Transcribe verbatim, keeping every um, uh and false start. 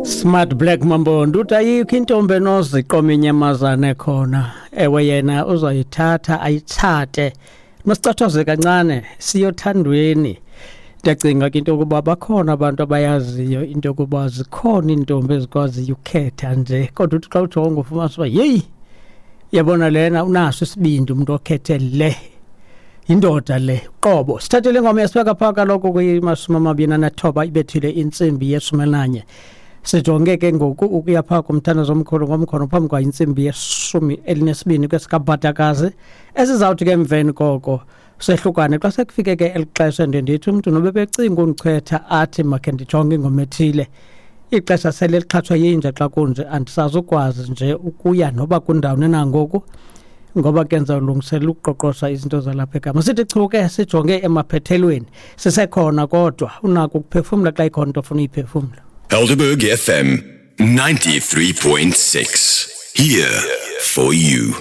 Smart Black Mambondo uthi ayikho intombi enoziqoma inyamazane khona. Ewe, yena uzoyithatha ayitshate. Masicathoze kancane siyothandweni. Ndiyacinga ke into yokuba bakhona abantu abayaziyo into yokuba zikhona iintombi ezikwaziyo ukukhetha nje, kodwa uthi xa ujonga ufumanisa uba yeyi, yabona lena unaso isibindi umntu okhethe le, yindoda le qobo. Sithathele ingoma yasibeka phaa kaloku kwimasumi amabini anethoba ibethile intsimbi yeshumi elinanye. Sijonge ke ngoku ukuya phaa kumthandazo omkhulu ngomkhono phambi kwa intsimbi yeshumi elinesibini kwesikabhatakazi, esizawuthi ke emveni koko sehlukane. Xa sekufike ke eli xesha, ndiye ndithi umntu noba ebecinga undichwetha athi makhe ndijonge ingoma ethile, ixesha sele lixhatshwa yinja. Xa kunje andisazukwazi nje ukuya noba kundawoni na ngoku, ngoba ke ndizawulungiselela ukuqoqosha izinto zalapha ekhaya. Sithi chu ke sijonge emaphethelweni, sisekhona, kodwa unako ukuphefumla xa ikhona into ofuna uyiphefumla. Helderberg F M ninety-three point six. Here for you.